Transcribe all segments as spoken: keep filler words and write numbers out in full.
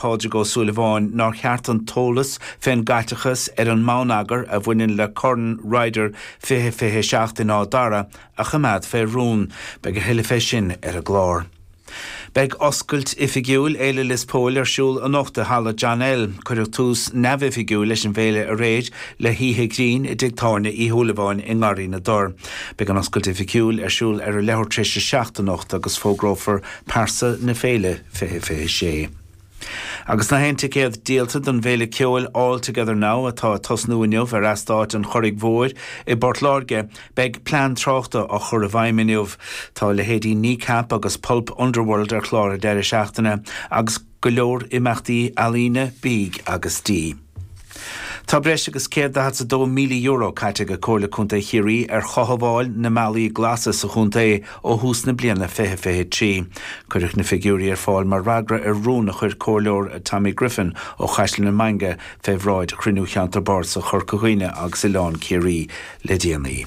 Pádraig Ó Súilleabháin nár cheart an t-eolas fén gcaiteachas ar an mbonneagar a bhaineann le Corn Ryder fiche fiche seacht in Áth Dara a choimeád fé rún. Beidh a thuilleadh fé sin ar an gclár. Beidh oscailt oifigiúil Fhéile Lios Póil ar siúl anocht i Halla John L. Cuireadh tús neamhoifigiúil leis an bhféile aréir le hoíche ghrinn i dTigh Tábhairne Uí Shúilleabháin i nGarraí na dTor. Beidh an oscailt oifigiúil ar siúl ar a leathuair tar éis a seacht anocht agus fógrófar pearsa na féile fiche fiche sé. Agus nach aon ticéad díolta don bhféile ceoil All Together Now atá ag tosnú inniu ar eastát an Churraigh Mhóir i bPort Láirge, beidh plean tráchta á chur i bhfeidhm inniu. Tá leithéidí Kneecap agus Pulp Underworld ar chlár an deireadh seachtaine agus go leor imeachtaí ealaíne, bídh agus dí. Tá breis agus céad daichead is a dó míle euro caite ag Comhairle Contae Chiarraí ar chothabháil na mbealaí glasa sa chontae ó thús na bliana fiche fiche trí. Cuireadh na figiúirí ar fáil mar fhreagra ar rún a chuir Comhairleoir Tommy Griffin ó Chaisleán na Mainge fé bhráid chruinniú Cheantar Bardasach Chorca Dhuibhne agus Oileán Ciarraí le déanaí.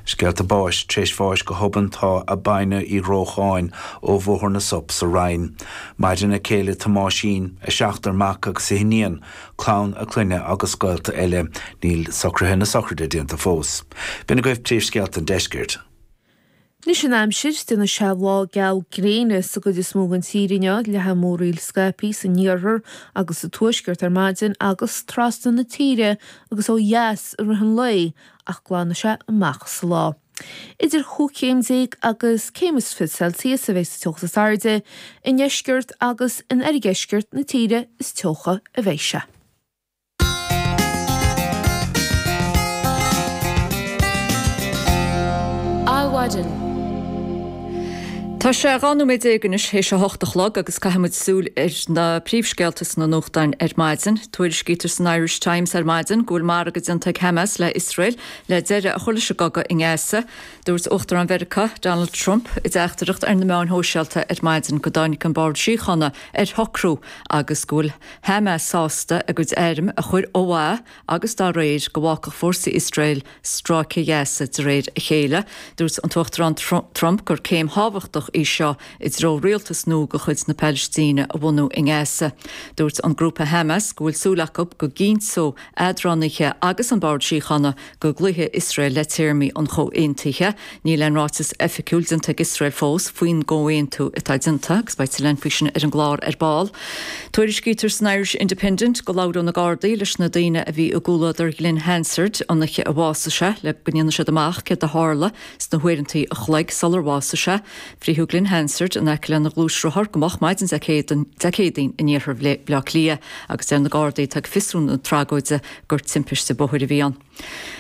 Scéalta báis, tar éis bháis go hobann tá Abina Uí Ghrócháin ó Bhóthar na Sop sa Rinn. Maireann a céile Tomáisín, a seachtar mac agus a hiníon, clann a clainne agus gaolta eile. Níl socruithe na sochraide déanta fós. B'in agaibh príomhscéalta an deiscirt. Anois an aimsir, déanfaidh sé lá geal gréine sa gcuid is mó den tír inniu, leathfaidh múraíl scaipthe san iarthar agus sa tuaisceart ar maidin agus trasna na tíre agus ó dheas i rith an lae ach glanfaidh sé amach sa lá. Idir chúig chéim déag agus céim is fiche Celsius a bheidh sa teocht is airde, i ndeisceart agus in oirdheisceart na tíre is teocha a bheidh sé. Adhmhaidin. Tá sé dhá nóiméad déag anois théis a hocht a chlog agus caithfidh muid súil ar na príomhscéalta sna nuachtáin ar maidin. Tuairiscítear san Irish Times ar maidin go bhfuil margadh déanta ag Hamas le Iosrael le deireadh a chur leis an gcogadh i nGaza. Dúirt Uachtarán Mheiriceá, Donald Trump, i dteachtaireacht ar na meáin shóisialta ar maidin go dtáinig an Bord Síochána ar shocrú agus go bhfuil Hamas sásta a gcuid airm a chur ó mhaith agus dá réir go bhfágfadh fórsaí Iosrael Stráice Ghaza de réir a chéile. Dúirt an tUachtarán Trump gur céim thábhachtach í seo i dtreo rialtas nua de chuid na Palaistíne a bhunú i nGaza. Dúirt an grúpa Hamas go bhfuil súil acu go gcinnteoidh eadránaithe agus an Bord Síochána go gcloífidh Iosrael le téarmaí an chomhaontaithe. Níl aon ráiteas oifigiúil déanta ag Iosrael fós faoin gcomhaontú atá déanta agus beidh tuilleadh faoi sin ar an gclár ar ball. Tuairiscítear san Irish Independent go labhróidh na Gardaí leis na daoine a bhí i gcomhluadar Ghlen Hansard an oíche a bhásaigh sé le go ndéanfaidh siad amach céard a tharla sna huaireanta a chloig sular bhásaigh sé. Frítheadh Glen Hansard in aice lena ghluaisrothar go moch maidin Dé Céadaoin in iarthar Bhaile Átha Cliath agus deir na Gardaí atá ag fiosrú na tragóide gur timpiste bóthair a bhí ann.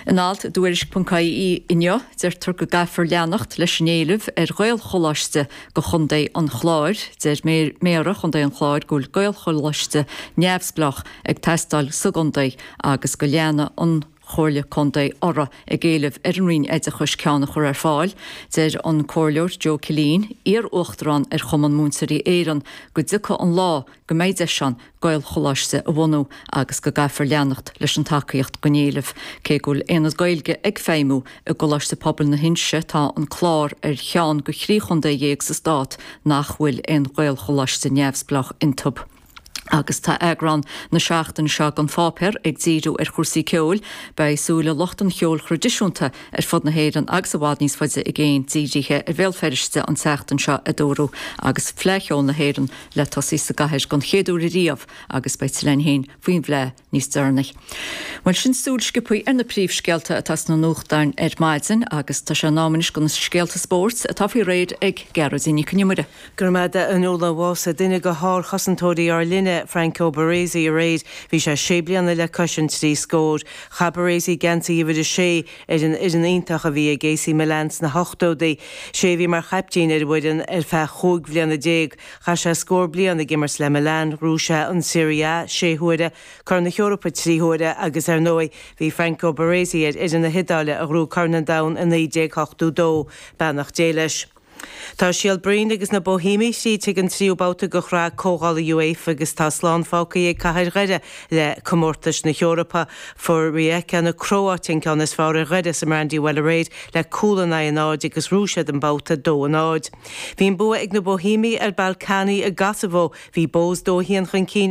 In alt i dTuairisc ponc ie inniu, deirtear go gcaithfear leanacht leis an éileamh ar Ghaelcholáiste do Chontae an Chláir. Deir Méara Chontae an Chláir go bhfuil Gaelcholáiste neamhspleách ag teastáil sa gcontae agus go leanfaidh an Chomhairle Contae orthu ag éileamh ar an Roinn Oideachais ceann a chur ar fáil. Deir an Comhairleoir Joe Killeen, iar-uachtarán ar Chumann Múinteoirí Éireann, go dtiocfaidh an lá go mbeidh deis ann Gaelcholáiste a bhunú agus go gcaithfear leanacht leis an tacaíocht don éileamh. Cé go bhfuil Aonad Gaeilge ag feidhmiú i gColáiste Pobail na hInse, tá an Clár ar cheann de thrí chontae dhéag sa stát nach bhfuil aon Ghaelcholáiste neamhspleách iontu. Agus tá eagrán na seachtaine seo den pháipéar ag díriú ar chúrsaí ceoil. Beidh súile lucht an cheoil thraidisiúnta ar fud na hÉireann agus i bhfad níos faide i gcéin dírithe ar Bhéal Feirste an tseachtain seo, a dúradh, agus Fleadh Cheoil na hÉireann le tosaí sa gcathair don chéad uair ariamh agus beidh tuilleadh againn féin faoin bhFleadh níos deireanaí. Bhuel, sin súil sciobtha ar na príomhscéalta atá sna nuachtáin ar maidin agus tá sé in am anois do na scéalta spóirt atá faoi réir ag Gearóidín Nic Con Iomaire. Go raibh maith agat a Fhionnuala. Bhásaigh duine de shárchosantóirí ár linne, Franco Baresi, aréir. Bhí sé sé bliana le cois an trí scór. Chaith Baresi geansaí uimhir a sé ar an fhoireann iontach a bhí ag AC Milan sna hochtóidí. Sé a bhí mar chaiptín ar an bhfoireann ar feadh chúig bhliana déag. Chaith sé scór bliain ag imirt le Milan, ghnóthaigh sé an Serie A sé huaire, Corn na hEorpa trí huaire agus ar ndóigh bhí Franco Baresi ar fhoireann na hIodáile a ghnóthaigh Corn an Domhain i naoi déag ochtó dó. Beannacht Dé leis. Tá Síol Breen agus na Boihéimigh tríd chuig an tríú babhta de Shraith Comhdhála UEFA agus tá slán fágtha ag Cathair Dhoire le comórtais na hEorpa. Fuair Rijeka na Cróite an ceann is fearr ar Dhoire sa Brandywell aréir le cúl in aghaidh a náid agus bhuaigh siad an babhta dó a náid. Bhí an bua ag na Boihéimigh ar Ballkani i gCosavó. Bhí Bohs dó a haon chun cinn